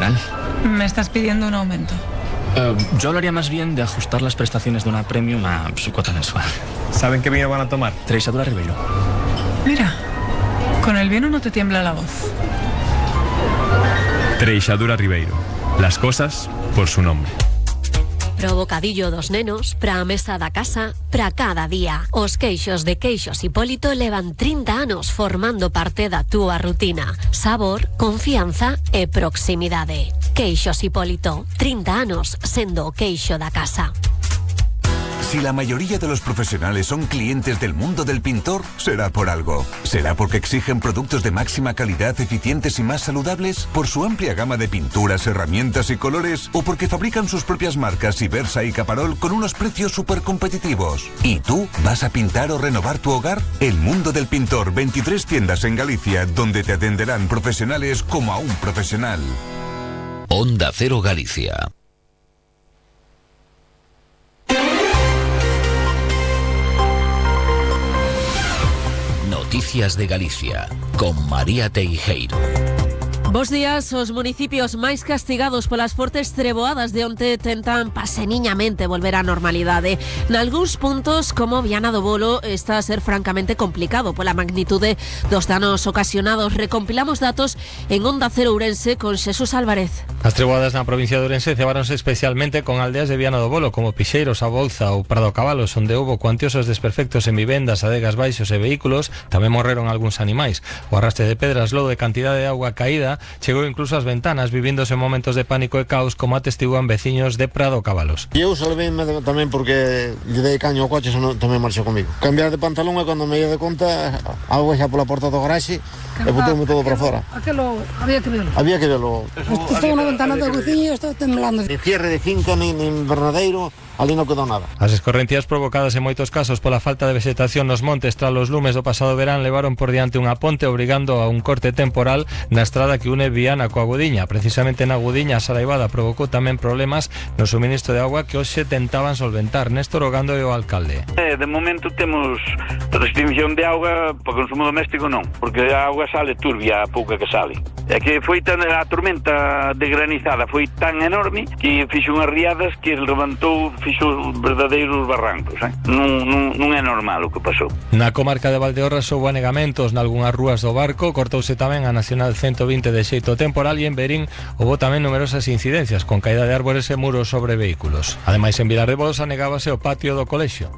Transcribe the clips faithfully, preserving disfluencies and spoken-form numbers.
temporal. Me estás pidiendo un aumento. Uh, yo hablaría más bien de ajustar las prestaciones de una premium a su cuota mensual. ¿Saben qué vino van a tomar? Treixadura Ribeiro. Mira, con el vino no te tiembla la voz. Treixadura Ribeiro. Las cosas por su nombre. Pro bocadillo dos nenos, pra mesa da casa, pra cada día. Os queixos de Queixos Hipólito levan trinta anos formando parte da túa rutina. Sabor, confianza e proximidade. Queixos Hipólito, trinta anos sendo o queixo da casa. Si la mayoría de los profesionales son clientes del mundo del pintor, será por algo. ¿Será porque exigen productos de máxima calidad, eficientes y más saludables? ¿Por su amplia gama de pinturas, herramientas y colores? ¿O porque fabrican sus propias marcas Ibersa y Caparol con unos precios súper competitivos? ¿Y tú vas a pintar o renovar tu hogar? El mundo del pintor, veintitrés tiendas en Galicia, donde te atenderán profesionales como a un profesional. Onda Cero Galicia. Noticias de Galicia, con María Teijeiro. Bos días. Os municipios máis castigados polas fortes treboadas de onte tentan paseniñamente volver á normalidade. Nalgúns puntos, como Viana do Bolo, está a ser francamente complicado pola magnitude dos danos ocasionados. Recompilamos datos en Onda Cero Ourense con Xesús Álvarez. As treboadas na provincia de Ourense cebáronse especialmente con aldeas de Viana do Bolo, como Pixeiros, A Bolza ou Prado Cabalos, onde houbo cuantiosos desperfectos en vivendas, adegas baixos e vehículos. Tamén morreron algúns animais. O arrastre de pedras, lodo e cantidade de auga caída chegou incluso ás ventanas, vivíndose momentos de pánico e caos, como atestiguan veciños de Prado Cabalos. E eu salveime tamén porque lle dei caño ao coche, senón tamén marchou comigo. Cambiar de pantalón e cando me ia de conta, auga xa pola porta do garaxe e botoume todo para fora. Aquelo había que verlo. Había que verlo. Estou na ventana da cociña e estou temblando. De cierre de finca, nin, nin verdadeiro, ali non quedou nada. As escorrencias provocadas en moitos casos pola falta de vegetación nos montes tras os lumes do pasado verán levaron por diante unha ponte obrigando a un corte temporal na estrada que une Viana coa Gudiña. Precisamente na Gudiña a saraivada provocou tamén problemas no suministro de agua que hoxe tentaban solventar. Néstor Ogando e o alcalde. De momento temos restricción de auga para consumo doméstico non, porque a auga sale turbia a pouca que sale. É que foi tan a tormenta de granizada foi tan enorme que fixo unhas riadas que levantou, fixo verdadeiros barrancos, eh? non, non, non é normal o que pasou. Na comarca de Valdeorras houbo anegamentos nalgunhas rúas do Barco, cortouse tamén a Nacional ciento vinte de xeito temporal e en Berín houbo tamén numerosas incidencias con caída de árbores e muros sobre vehículos. Ademais, en Vilar de Bolos anegábase o patio do colexio.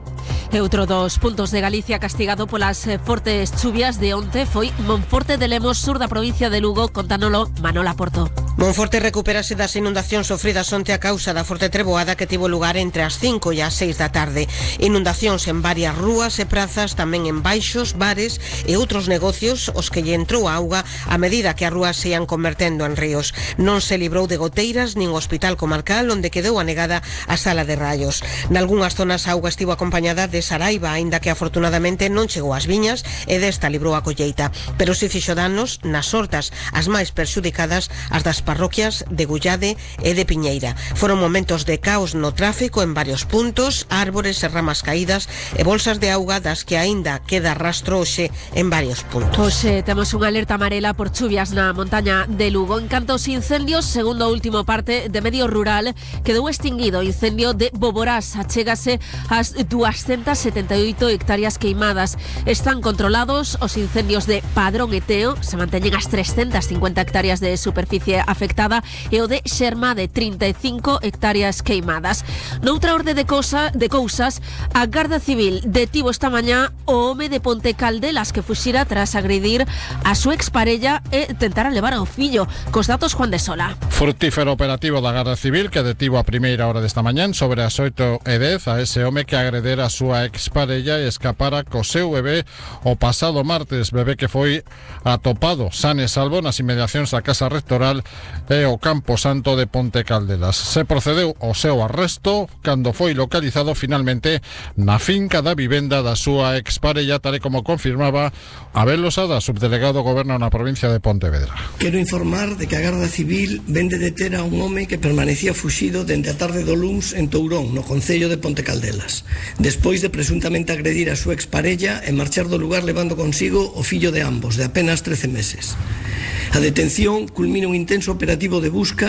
E outro dos puntos de Galicia castigado polas fortes chuvias de onte foi Monforte de Lemos, sur da provincia de Lugo. Contánolo Manola Porto. Monforte recupérase das inundacións sofridas onte a causa da forte treboada que tivo lugar entre as cinco e as seis da tarde. Inundacións en varias rúas e prazas, tamén en baixos, bares e outros negocios os que lle entrou a auga a medida que as rúas se ian convertendo en ríos. Non se librou de goteiras nin o hospital comarcal, onde quedou anegada a sala de raios. Nalgúnas zonas a auga estivo acompañada de saraiva, aínda que afortunadamente non chegou ás viñas e desta librou a colleita, pero si fixo danos nas hortas, as máis perxudicadas, as das parroquias de Gullade e de Piñeira. Foron momentos de caos no tráfico en varios puntos, árbores e ramas caídas e bolsas de auga das que aínda queda rastro hoxe en varios puntos. Hoxe temos unha alerta amarela por chuvias na montaña de Lugo. En canto aos incendios, segundo o último parte de Medio Rural, quedou extinguido o incendio de Boborás. Achégase ás doscientas setenta e oito hectáreas queimadas. Están controlados os incendios de Padrón e Teo, se manteñen as trescentas cincuenta hectáreas de superficie afectada, e o de Xerma, de trinta e cinco hectáreas queimadas. Noutra orde de, cosa, de cousas, a Garda Civil detivo esta mañá o home de Ponte Caldelas que fuxira tras agredir a súa exparella e tentara levar ao fillo. Cos datos, Juan de Sola. Frutífero operativo da Garda Civil que detivo a primeira hora desta mañán sobre as oito e dez a ese home que agredera a súa exparella e escapara co seu bebé o pasado martes, bebé que foi atopado san e salvo nas inmediacións da Casa Rectoral e o Campo Santo de Ponte Caldelas. Se procedeu ao seu arresto cando foi localizado finalmente na finca da vivenda da súa exparella, tal e como confirmaba Abel Losada, subdelegado do Goberno na provincia de Pontevedra. Quero informar de que a Garda Civil vende deter a un home que permanecía fuxido dende a tarde do luns en Tourón, no concello de Ponte Caldelas, despois de presuntamente agredir a súa exparella e marchar do lugar levando consigo o fillo de ambos, de apenas trece meses. A detención culmina un intenso operativo de busca